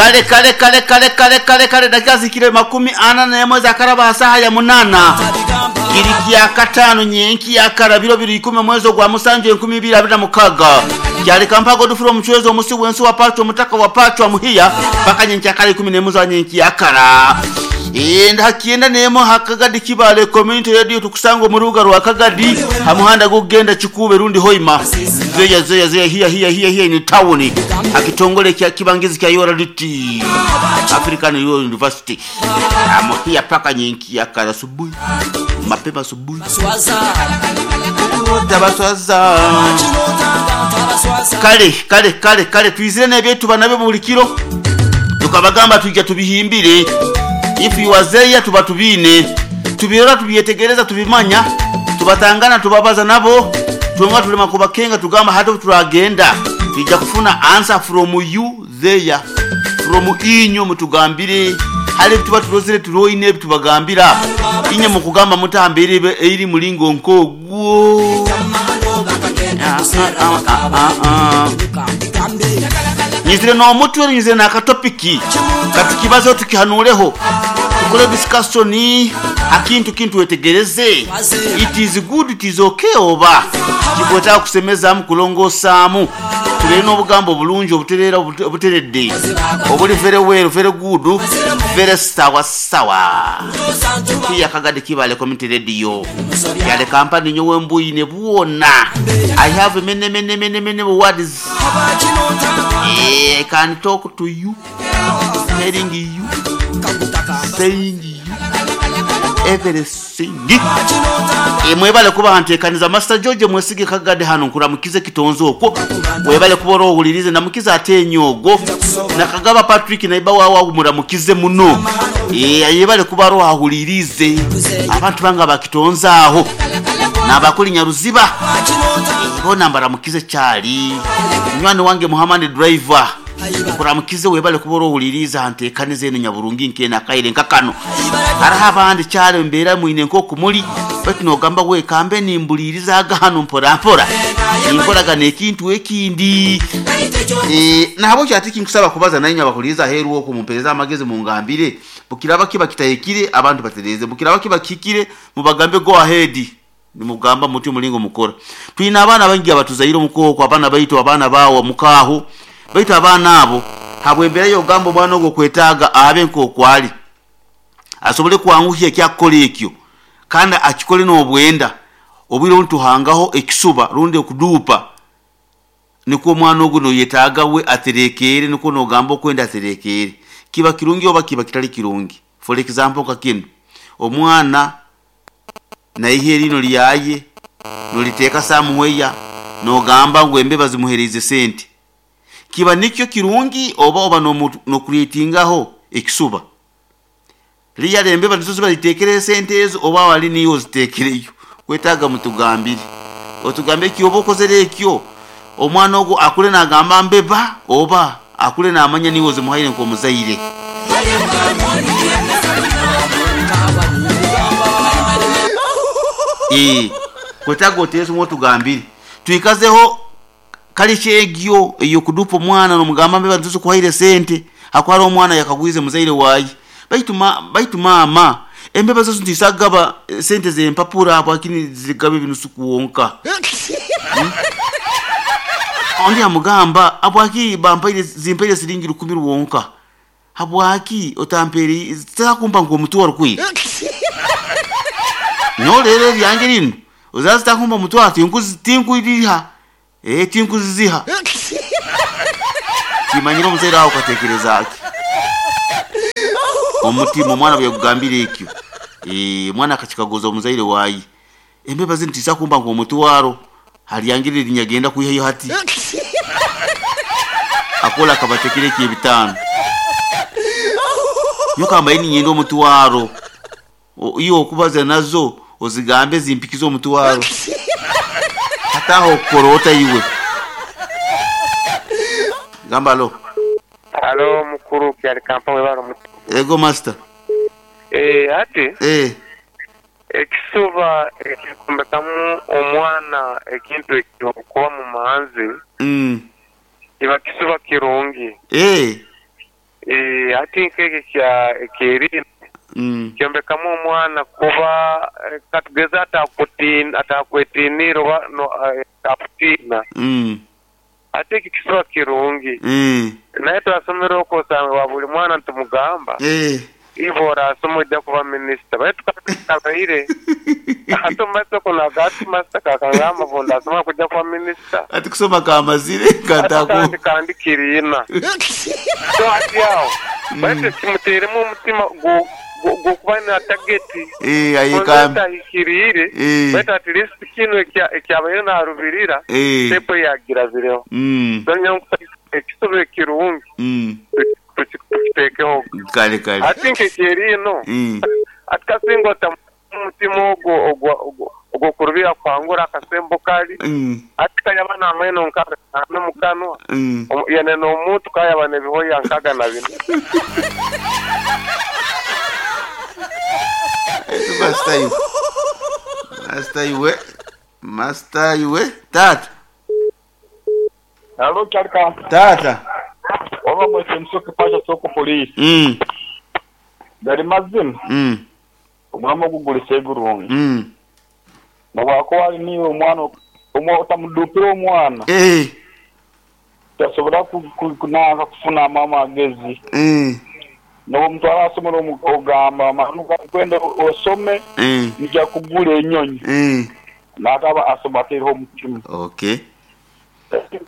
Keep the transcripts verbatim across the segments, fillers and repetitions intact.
Kale kale kale kale kale kale kale dakika zikire makumi ana n'emwe zakaraba saha ya munana kiri kya katano nyenki ya karabiro biri ikumi mwezi gwa musanju enkumi ibiri abiri na mukaga kyali kampago dufuro omuchwezo omusi wensi wa pacho omutaka wa pacho amuhiya paka nyenki ya kare ikumi n'emwe za nyenki ya kara enda hakienda nemo hakagadi Kibale Community Radio tukusanga mu rubuga rwa Kagadi hamuhanda gugenda Kikube rundi Hoima zeya zeya zeya hiya hiya hiya hiya ni town akitongole kya kibangizi kya U R D T African University amuhiya paka nyenki ya kara subuhi mapema subuhi tabaswaza kale kale kale kale twizire n'ebyetu banabe buli kiro tukabagamba tujja tubihimbire. If you are there tuba tubine tubirora tubyetegereza tubimanya tubatangana tubabaza nabo tunga tulema kubakenga tugamba hata turagenda tujja kufuna answer from you there from inyo mutugambire hali tuba turozere turoine tubagambira inye mukugamba mutambire eri mulingo nkogwo. Ah, ah, ah, ah, ah. Nyizire no mutwe nyizire na katopiki katukibazo tukihanuleho tukole discussion akintu kintu wetegereze it is good it is okay oba kibota kusemeza mu kulongosaamu tulere n'obugambo bulungi obuterera obuteredde obuli very well very good very sawa sawa kiya Kagadi Kibale Community Radio yale kampani nyowe mbuyi ne buona I have many many many many words. I can talk to you, telling you, saying you, everything. Mwebale kuba ntekaniza Master George mwesige Kagadi hano nkuramukize kitonzo okwo webale kuba orohulirize namukize atenyogo nakagaba Patrick naiba wawa muramukize muno eh yebale kuba rohulirize abantu banga bakitonza aho nabakuli Nyaruziba bona mbaramukize cyali nywani wange Muhammad driver kuramukize webale kuba orohuliriza ntekanize eno nyaburungi nkena kaire nkakano hariho abandi cyale mbera mwine nko kumuli bati nogamba we kambe nimbuliriza agahano mpora mpora inkoraga nekintu ekindi eh nabo cyati kinkusaba kubaza nayo abakuliriza heru wo kumumpereza amagezi mu ngambire bukiraba kiba kitayekire abantu batereze bukiraba kiba kikire mubagambe go ahead nimugamba muti mulingo mukora twina abana bangi abatuzayiro mukoko abana baito abana bawo mukaho baito abana abo habwembera yo gambo mwana ogwo kwetaga abe nkokwali asobole kwanguhya kyakola ekyo kandi akikole n'obwenda obwire ntuhangaho ekisuba rundi okudupa niko omwana ogwo noyetaaga we aterekere niko nogamba okwenda aterekere kiba kirungi oba kiba kitali kirungi. For example kakino omwana naihe rino lyaye noliteeka samuweya nogamba ngu embeba zimuhereze sente kiba nikyo kirungi oba oba nokuritingaho ekisuba liya embeba nizo ziba zitekere sente ezo oba wali niyo zitekereyo kwetaga mutugambire otugambe ki oba okozere ekyo omwana ogwo akule nagamba mbeba oba akule namanya niwo zimuhaire nkomuzaire. Eh kwetaga otezo mutugambire twikazeho kalichegyo eyo kudupo mwana nomugamba mbeba nizo kuhaire sente akwara omwana yakagwize muzaire wayi baitu ma baitu mama embeba zozo ntisagaba sente zempapura apo akini zigabe binusu kuwonka hmm? Ondi amugamba apo aki bampaire zimpaire siringi rukumi ruwonka apo aki otamperi takumpa ngo mutwaro kwi no lero byange lino uzazi takumpa mutwaro tinkuzi tinkuiriha eh tinkuziha kimanyira omuzaire aho katekereza aki omutima omwana byakugambira ekyo eh mwana akachikaguza omuzaire wayi embeba zintisa kumba ngo omutwaro haliyangirira linyagenda kuihayo hati akola kabatekere ki ebitano yokamba ini nyendo omutwaro iyo okubaza nazo ozigambe zimpikizo omutwaro hataho korota iwe gamba lo Halo mukuru kyali kampani baro. Ego master. Eh ati eh ekisuba ekikumbekamu omwana ekintu ekyokuba mu manzi mm kiba kisuba kirungi eh eh Eh, ati nk'ekyo kya ekyerina Mm. kyombekamu omwana kuba eh, katugeze atakutina atakwetiniire oba no, eh, akutiina Mm. ate ekyo kisuba kirungi Eh. naye twasomere okwo osanga wa buli mwana ntumugamba Eh. ivo orasoma ojja kuba minisita baitu kabaire ate omumaiso kuno agati masita kakangamba bo ndasoma kujja kuba minisita Ati kusoma kamazire kataku. kandi kandi kiriina so ati awo baitu kimuteeremu omutima gu- gu- gwokuba na tageti Eh, ayekam. tahikiriire Eh. baitu at least kino ekya- ekyabaire narubirira Eh. tepo yagirabireho Mm. ekisuba ekirungi Mm. tuki- tukiteekeho Kale kale. ati nkekyeriino Mm. ati kasinga ota omutima ogwo ogwo- ogwo- ogwokurubira kwangura akasembo kali Mm. ati kayaba namaino nkaga nomukanwa Mm. Omu- yene n'omuntu kayaba nebihoya nkaga na bino Master iwe. Master iwe. Master iwe. Tata. Alo kyalika Tata. oba mwese musoke pasha soko polisi Mm. gari mazima Mm. omwami ogugulisa egurungi Mm. nobwako wali niwe omwana omwa otamudupira omwana Eh. tasobola ku- ku- kunanka kufuna amama agezi Eh. nobwomutwala asomero omu- ogamba manu kwenda osome Eh. nija kugula enyonyi Eh. nataba asoma ateereho omutima Okay.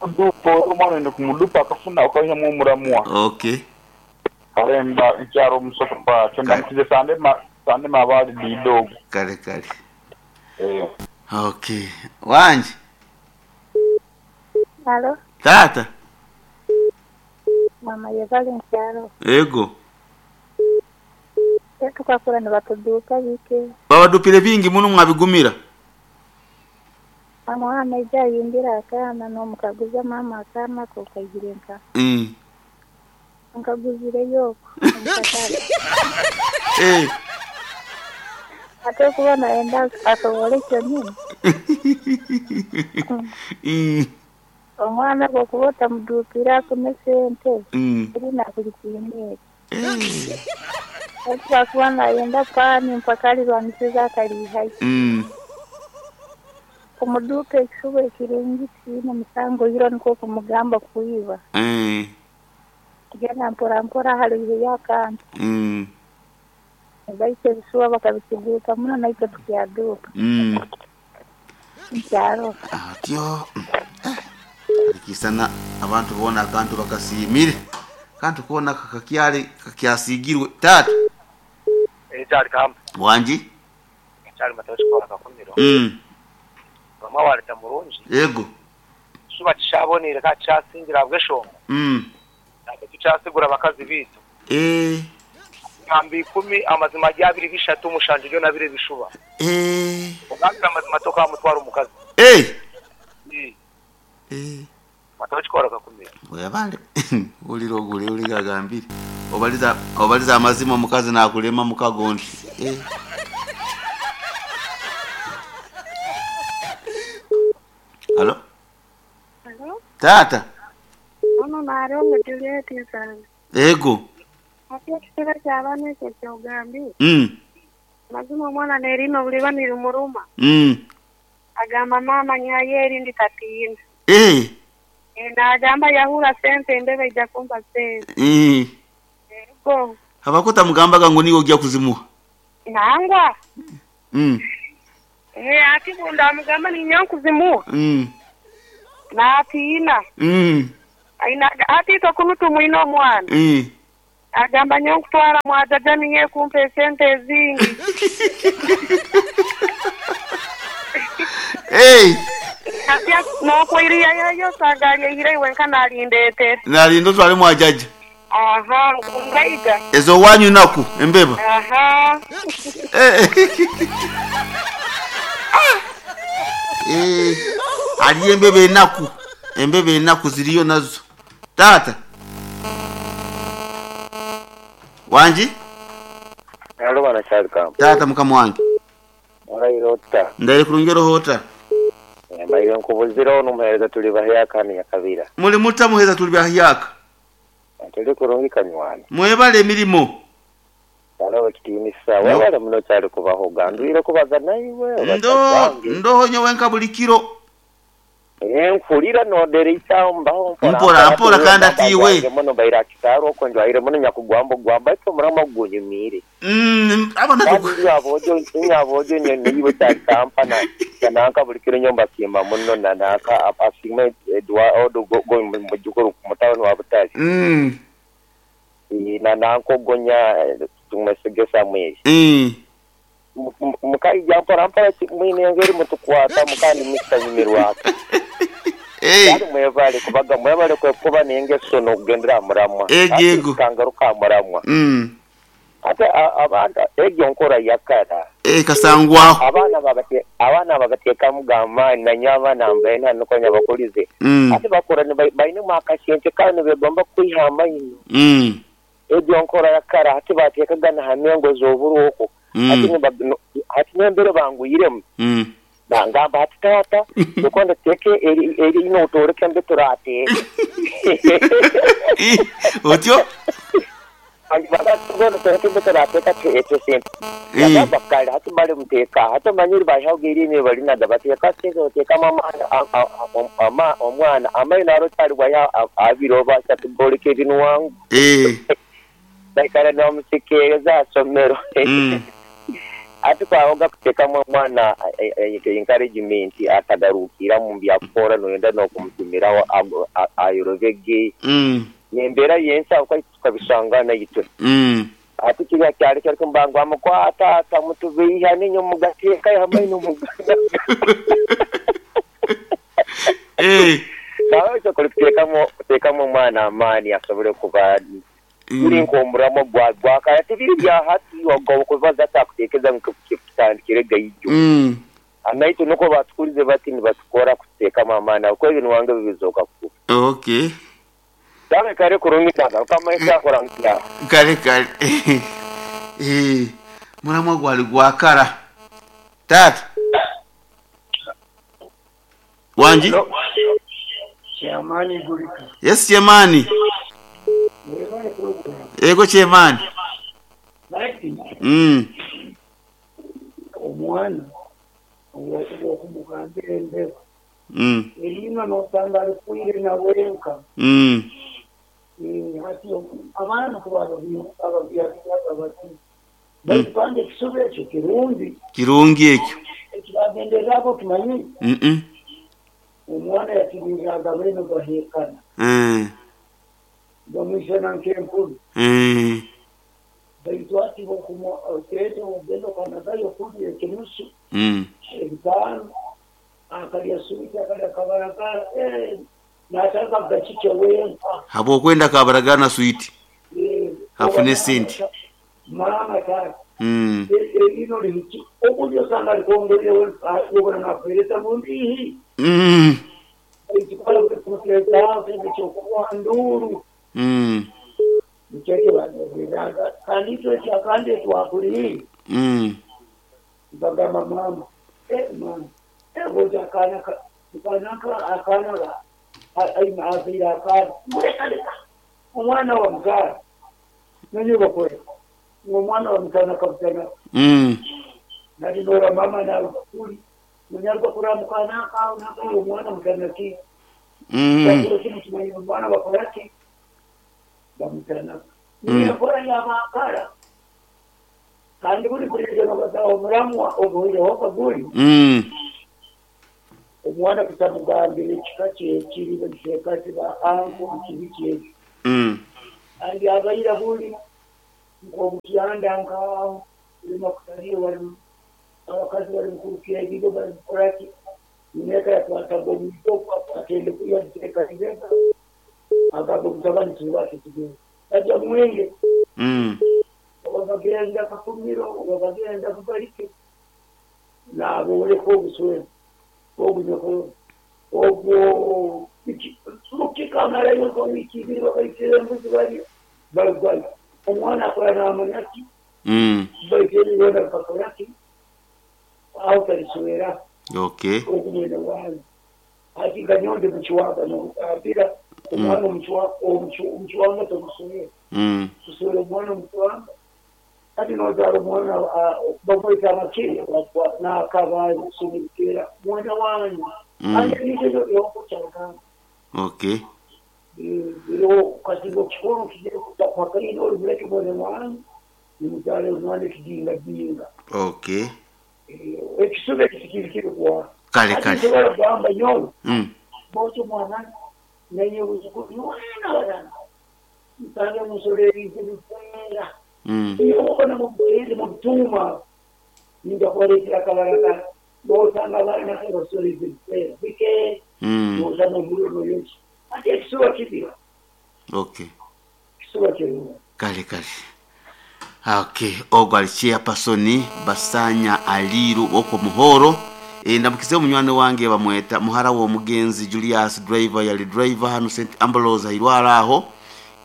kudupa omwana ende kumudupa akafuna okaihamu omuramwa Okay. kalemba nkyaro omusoke pacho ndamukize sande ma sande mabali didogo Kale kale. eh Okay. Wanje. Alo, Tata. mama yebale nkyalo. Ego. Tukakura nibatuduuka bike. Babadupire bingi muno mwabigumira. Omwana aija ayimbira akaana n'omukaguza maama akaana ko kaigire nka. Mm. Nkaguzireyo okwo omukatale. Eh. Ate okuba nayenda asobole kyonyini. Mm. Omwana bw'okuba otamuduukira afune sente Mm. erina buli kintu ekyo. Eh. Ati nayenda paani mpaka alirwanisiza akaliihayo. Mm. Kumuduuka ekisuba ekirungi tiine musango iro nikwo kumugamba kwiba. Eh. Kugenda mpora mpora haliiheyo akantu. Mm. Baitu ebisuba bakabituduuka muno naitwe tukyaduuka Mm. nkyaro. Atyo. Kisana abantu bona akantu bakasimire. Kantu kona kakakyali kakyasigirwe. Tata. Ekyali kamba Wanji. ekyali matoki kola kakumiro Mm. bamwe waleta murungi Ego. suba kishabonire ka kyasingira bweshongo Mm. ate tukyasigura abakazi bitu Eh. ngamba ikumi amazima gyabiri bishatu mushanju ryo nabire bishuba Eh. ogambira amazima tokamutwara omukazi Eh. Eh, Eh. matoki kola kakumiro Webale. Uliro ogule uligagambire. Obaliza obaliza amazima omukazi nakulema mukagondi. Eh. Halo? Alo, Tata. ono narongo Juliet nsanga. Ego. Ate ekitebe ky'abaana ekyo kyogambire. Mm. Mazima omwana nerino buliba nirimuruma. Mm. Agamba maama nyayo erindi tatiina. Eh. E, n'agamba yahura sente endebe ijja kumpa sente. Eh. Ego. Abakuta mugambaga ngo niwe ojja kuzimuha. Nangwa. Mm. E, ati bunda amugamba ninyo nkuzimuha. Mm. N'atiina. Mm. Aina ati itwe tumwine omwana. Eh. Agamba nyo nkutwara mwajaja niye kumpa esente ezingi. Eh. Ati n'okwiriyayo yosanga alyeire wenka nalindeetere. Nalindo twali mwajaja. Aha, ngaiga. Ezo wanyu naku embeba. Aha. Eh. Eh. Ali embeba enaku. Embeba enaku ziriyo nazo. Tata. Wanji? Alo bana kyali kamba Tata mukama wange. olairota Ndaire kurungero hota. mbaire nkubuziraho n'omuheereza tuli bahyaka ni yakabira Muli mutta muheza tuli bahyaka. Tuli kurungi kanywani. Mwebale emirimu. Kale ekitiinisa webale muno kyali kubahoga ndwire kubaza naiwe. Ndo ndoho nyowe nka buli kiro. Nkulira nodera mbaho Mpora mpora kandi atiwe. Muno baira kitaro okwo njwaire muno nyakugwamba gwamba ito murama gunyumire. Mm abana tu. Abojo nyabojo niwe takampana nanka buli kiro nyomba simba muno na naka asime Eduardo go mujukuru mutawani wa Butali. Mm. Na nanko gonya tumesege Samuel. Mm. Mukaija mpora mpora mwine ngeri mutukwata mukandi mukitanyumirwa. Eh. Kandi mwebale kubaga mwebale kwekuba nengeso nokugendera muramwa. Ego. Kangaruka muramwa. Mm. Ate abantu egyo nkora yakara. Eh kasangwa. Abana babate abana bagateka mugamba na nyaba nambaye nuko nyabakulize. Mm. Ate bakora ne bayine mwakasente kandi begomba kwihamba ino. Mm. Egyo nkora yakara ate batekagana hamengo z'oburuko. Mm. Ate ati nembere banguyiremu. Mm. Bangamba ati tata ukonda teke eri eri ino utoreke mbe turate. Otyo? Banga teke mbe turate ka ete sente. Yaba kale hati bali muteka hati manyiri bahawgiri ne bali na dabateka sente oteka mama ama omwana amayi naro tali baya abiro ba satugoleke binwangu. Eh. Baikara no musikeza somero. Mm. Ati kwaoga kutekamu omwana encouragement atagarukira mu byakora noyenda nokumutumira ayorovege. Mm. Nembeera yensa uko tukabishangana yitwe. Mm. Ati kiriya kyali kyali kumbangwa mukwata ata mutubiha ninyo mugateka hamwe n'umuganda. Eh. Nawe cyo kutekamo kutekamo omwana amani asobole kuba uri nkomuramo gwa gwakaya tibiri bya hati wago kubaza atakutekeza nkukitandikire gayijo. Mm. Anaitu nuko batukurize bati nibatukora kuteka amana uko ibintu wange bibizoka ku. Okay. Dame kare kurungi taga kama isakora nkya. Kare kare. Eh muramwa gwali gwakara. Tata. Wanji? Chiamani gulika. Yes Chiamani. Ego Chiamani. Mm. Omwana okumugambira embeba. Mm. Erina nosanga alikwire na wenka. Mm. Hati abaana kuba ababyaliraga bati bali ekisubi ekyo kirungi. Kirungi ekyo. Ekibagendererako kimanyi. Mm. Omwana yakibiriraga bene bahekana. Mm. Bamwisana nk'enkulu. Mm. Baitu ati oteete ogenda okanagayo okulya ekinusu. Mm. Ebitaano akalya switi akalya kabaragara n'ataka gakikye wenka. Habwokwenda kabaragara na switi. Hafune sente. Mama tata. Mm. Erino lihiki okulya osanga likongolere wenka obona nakuheereza mundihi. Mm. Ekikola kuteeka ekyokuwa nduru. Mm. Nikyo banogeraga kandi itwe kyakandi twakuli. Mm. Bagamba mama eh mama eh goja kana kana akana ai maazira akana muleka omwana wa mzara nanyo bakore omwana wa mzara kabutana. Mm. Nali mama na kuli munyarwa kuramukana ka na omwana mutana ki. Mm. Kimwe omwana bakoraki bamutana. Ni kora ya makara. Kandi buri kuregera bataho muramwa obuhireho kaguri. Mm. Omwana kutamugambira ekika kyekiri bakishekati ba anko kibi kyekyo. Mm. Andi abayira buli nkomukyanda nkawo lima kutaliyo bali abakazi bali mukurukira ebigo bali mukoraki neka yakwataga omwito atende kuya nteeka ibeka agamba omutabani tubake tugende ajja mwenge. Mm. Obagenda kakumiro obagenda kubalike naboleka obuswere obunyoko obwo mukikamalayo nkowiiki ibiri bakaitira embuzi bali balugwayo omwana akola n'amanyaki. Mm. Baitira bakolaki aho taliswera. Okay. Okumwene wange ati ganyonde mukiwaga nokugambira Omwana omucwanga tomusomera. Mm. Tusomera omwana omucwanga. Kati n'ozaala omwana bamweta amakere n'akaba kusomera mwana wanyu. Mm. Ate ebintu ebyo by'okukyagamba. Okay. Biriho kasinga okukikora okigere kwakaine olumuleke mwana wanyu nimuzaala omwana ekijingajinga. Okay. Ekisuba ekyo kiri Kale kale. Nsobola kugamba nyowe Mm. bwotyo mwana nenye buzukulu mwana barana nsange musolo ebintu bikwera. Mm. Obona mubuteezi mubituuma ninja kubaleetera akabalagala bw'osanga abaana basolo ebintu bikwera bike Mm. bw'osanga omuliro noyoki ate ekisuba kibira. Okay. Ekisuba kirungi. Kale kale. Okay, ogwo ali chairperson Basanya Aliru oko Muhoro. E, ndamukize omunywani wange bamweta muhara w'omugenzi Julius driver yali driver hano Saint Ambrose airwara aho.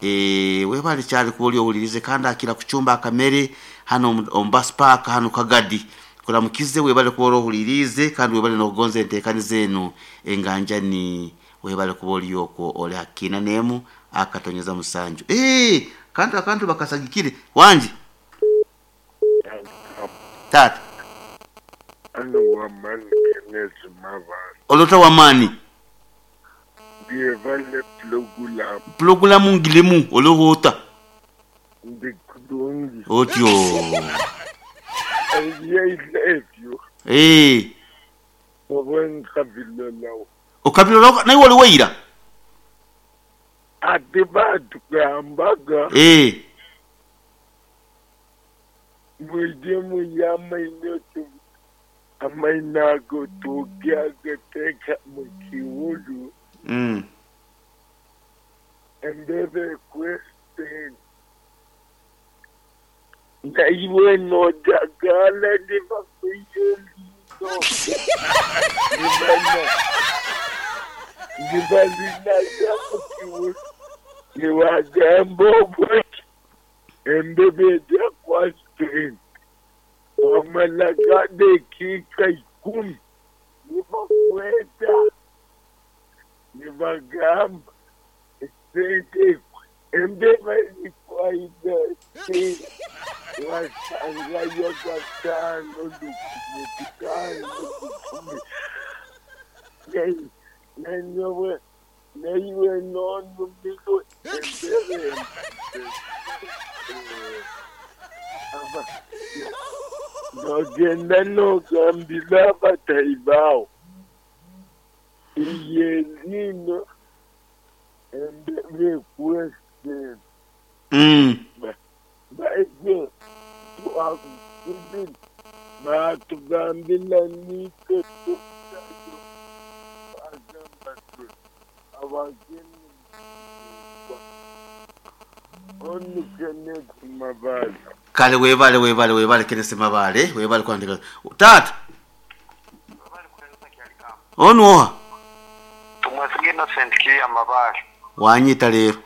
E, webale kyali kuba owulirize kandi akira kucumba akamere hano omu- omu bus park hano Kagadi. Kuramukize webale kuba owulirize kandi webale n'okugonza enteekani zenu enganjani webale kuba oli okwo oli hakina nemu akatonyeza musanju. Eh, kandi akantu bakasagikire wanje tata Ano wamani Kenneth Mabala. olota wamani Ndiyevale pulogulamu pulogulamu ngilemu olohota ndikulungi. otyo. Eyeilevyo Eh, owenkabilolawo. okabilola naye wali weira. Ate batugambaga Eh, mwije muyamaino amaino ago tugyagateeka mu kiwulu mm. embebe ekwese naiwe nojagala nibakuye eliino nibana nibalinaga mu kiwulu niwagamba obweki embebe ejja kwasente wamalaga dakiika ikumi nibakweta nibagamba esente embeba erikwaida sente wasangayo gatano lukumi bitano lukumi nanyowe naiwe nonumirwe embebe aba nogenda nogambira abatahi bawe iye lino embebe ekwesente Mm. baije twakubiri batugambira nitwe tukayo bagamba twe abageni onu Kenneth Mabala. Kale webale webale webale Kenneth Mabale webale kwandika tata onu oha Tumwesige Innocent ki amabale. wanyita leero.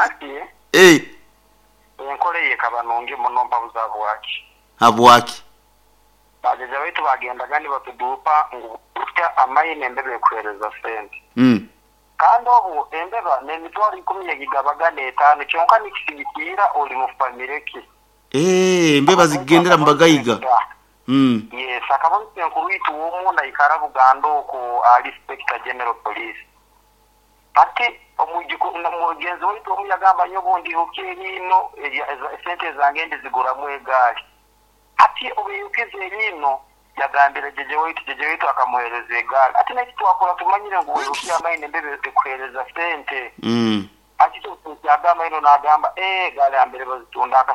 Ati Eh, enkola eyo ekaba nungi muno mpabuza bwaki. habwaki Bajeja baitu bagendaga nibatuduupa ngu burya amaine embeba ekuheereza sente. Mm. Kandi obu embeba n'emitwaro ikumi yagigabaga n'etaano kyonka nikisigikirra ori mu famire ki. Eh, embeba zigendera mu bagayiga. Mm. Yes, akaba enkuru yitu w'omunda ikara Buganda okwo ali Inspector General Police. Ati omugiku na mugenzi waitu omu yagamba nyo obundi eriino esente zange ndiziguramu egaari. Ati obuyukiza eriino yagambira jeje waitu jeje waitu akamuhereza egaari. Ati neki twakora tumanyire ngu weruki amaine embebe ekuhereza sente. Mm. Ati yagamba ino nagamba eh gaari ambere bazitunda akasa